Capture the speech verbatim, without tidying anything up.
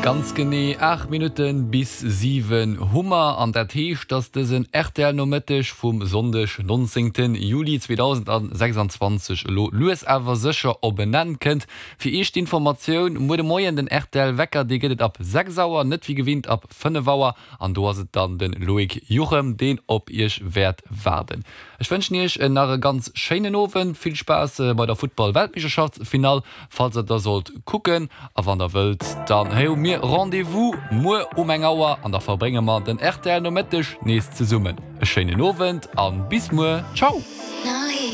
Ganz genee aacht Minutten bis siwen hu mer, an dat heescht, dass dësen R T L-Nomëtteg vum Sonndeg nonzéngte Juli zweedausendsechsanzwanzeg elo lues awer sécher op en Enn kënnt. Fir iech d'Informatioun, muer de Moien den R T L-Wecker, dee gëtt et ab sechs Auer, net wéi gewinnt ab fënnef Auer, an do ass et dann de Loïc Juchem, deen op iech wäert waarden. Ech wënschen iech nach e ganz schéinen Owend, vill Spaass bei der Futtball-Weltmeeschterschaftsfinall, falls der da sollt kucken, a wann der wëllt, dann hu mir Rendez-vous muer um eng Auer an da verbrénge mer den R T L-Nomëtteg nees zesummen. E schéinen Owend a bis muer, ciao! Now